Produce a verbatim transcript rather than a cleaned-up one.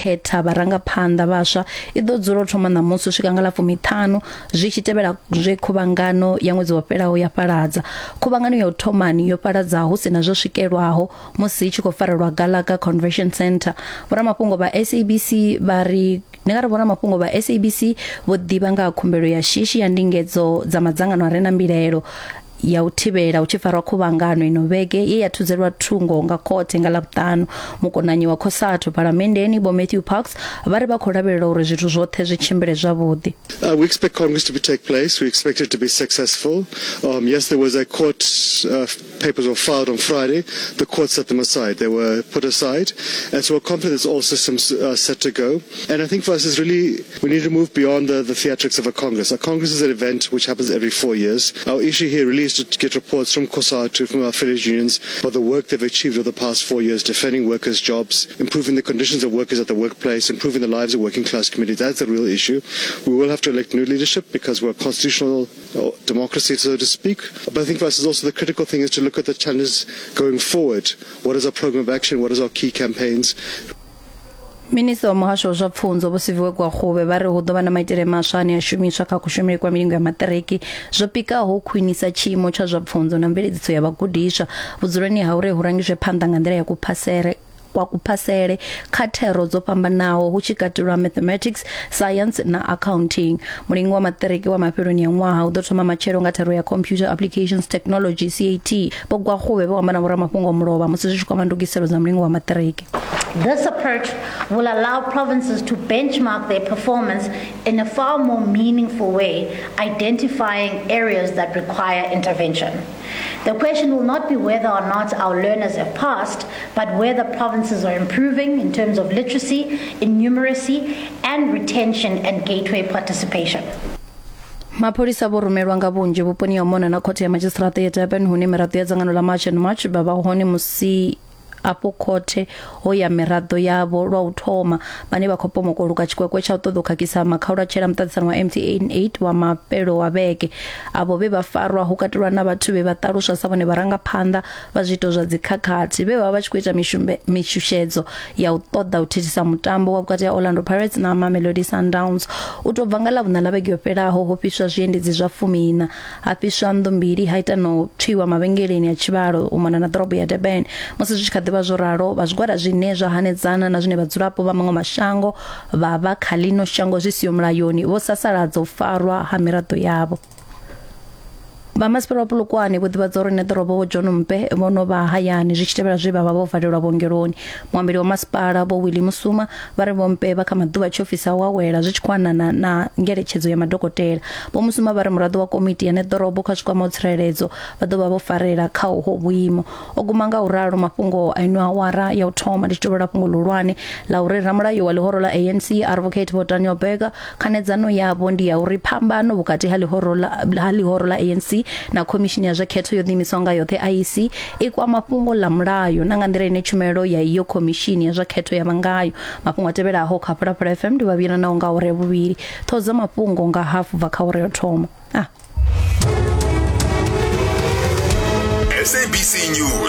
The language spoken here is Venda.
khetha vharangaphanḓa vhaswa i ḓo dzula u thoma ṋamusi u swika nga ḽa fumiṱhanu zwi tshi tevhela zwe khuvhangano ya ṅwedzi wo fhelaho ya fhaladza. Khuvhangano ya u thomani yo fhaladza hu sina zwo swikelwaho musi i tshi khou farelwa Gallagher Convention Centre. Vhoramafhungo vha S A B C vha ri ndi nga ri vhoramafhungo vha S A B C vho ḓivha nga ha khumbelo ya shishi ya ndingedzo dza madzangano a re na mbilaelo ya u thivhela u tshi farwa khuvhangano ino vhege ye ya thudzelwa thungo nga khothe nga Ḽavhuṱanu. Mukonanyi wa COSATU phalamenndeni Vho Matthew Parks vha ri vha khou lavhelela uri zwithu zwoṱhe zwi tshimbile zwavhuḓi. Uh, we expect Congress to be take place. We expect it to be successful. Um, yes, there was a court, uh, papers were filed on Friday. The court set them aside. They were put aside. And so we're confident all systems are set to go. And I think for us it's really, we need to move beyond the, the theatrics of a Congress. A Congress is an event which happens every four years. Our issue here really is to get reports from COSATU, from our affiliate unions, about the work they've achieved over the past four years, defending workers' jobs, improving the conditions of workers at the workplace, improving the lives of working class communities. That's the real issue. We will have to elect new leadership because we're a constitutional democracy, so to speak. But I think for us is also the critical thing is to look at the challenges going forward. What is our program of action? What is our key campaigns? Minista wa muhasho wa zwa pfunzo Vho Siviwe Gwarube vha ri hu ḓo vha na maitele maswa ane a shumiswa kha kushumele kwa milingo ya maṱiriki zwo pikaho u khwinisa tshiimo tsha zwa pfunzo na mveledziso ya vhagudiswa vhudzuloni ha uri hu rangiswe phanḓa nga nḓila ya kuphasele kwa kuphasele kha thero dzo fhambanaho hu tshi katelwa mathematics, science na accounting. Mulingo wa maṱiriki wa mafheloni ya ṅwaha u ḓo thoma matshelo nga thero ya Computer Applications Technology C A T. Vho Gwarube vho amba na vhoramafhungo mulovha musi zwi tshi kwama ndugiselo dza mulingo wa maṱiriki. This approach will allow provinces to benchmark their performance in a far more meaningful way, identifying areas that require intervention. The question will not be whether or not our learners have passed, but whether provinces are improving in terms of literacy, in numeracy, and retention and gateway participation. Mapholisa vho rumelwa nga vhunzhi vhuponi ha mona na khothe ya madzhisiṱiraṱa ya Durban hune miraḓo ya dzangano ḽa March and March vha vha hone musi afho khothe ho ya miraḓo yavho lwa u thoma vhane vha khou pomokoluka tshikwekwe tsha u ṱoḓa u khakhisa makhaulatshele a muṱaṱisano wa M T N eight wa mafhelo wa vhege. Avho vhe vha farwa hu katelwa na vhathu vhe vha ṱaluswa sa vhone vharangaphanḓa vha zwiito zwa dzikhakhathi vhe vha vha tshi khou ita mishushedzo ya u ṱoḓa u thithisa mutambo wa vhukati ha Orlando Pirates na Mamelodi Sundowns. U tou bva nga Ḽavhuṋa ḽa vhege yo fhelaho ho fhiswa zwiendedzi zwa fumiiṋa, ha fhiswa nnḓu mbili, ha ita na u tswiwa mavhengeleni a tshivhalo u mona na ḓorobo ya Durban. Musi zwi tshi kha ḓi zwo ralo vha zwigwada zwine zwa hanedzana na zwine vhadzulapo vha maṅwe mashango vha vha kha ḽino shango zwi siho mulayoni vho sasaladza u farwa ha miraḓo yavho. Vha masipala wa Polokwane vho ḓivhadza uri neḓorobo Vho John Mpe vho no vha hayani zwi tshi tevhela zwe vha vha vho valelwa vhuongeloni. Muambeli wa masipala Vho Willie Musuma vha ri Vho Mpe vha kha maḓuvha tshiofisi a u awela zwi tshi khou anana na ngeletshedzo ya madokotela. Vho Musuma vha ri muraḓo wa komiti ya neḓorobo kha zwikwama tsireledzo vha ḓo vha vho farela kha uho vhuimo. O guma nga u ralo mafhungo a ino awara ya u thoma ndi tshi tovhela fhungo ḽihulwane ḽa uri ramulayo wa ḽihoro ḽa A N C Advocate Vho Daniel Berger khanedzano yavho ndi ya uri phambano vhukati ha ḽihoro ḽa ha ḽihoro ḽa A N C na khomishini ya zwa khetho yo ḓiimisaho nga yoṱhe I E C i kwama fhungo ḽa mulayo na nga nḓila ine tshumelo ya iyo khomishini ya zwa khetho ya vha ngayo. Mafhungo a tevhelaho kha Phalaphala F M ndi vhavhili nao nga ure vhuvhili. Ṱhoho dza mafhungo nga hafu bva kha ure yo thoma. Ah. S A B C News.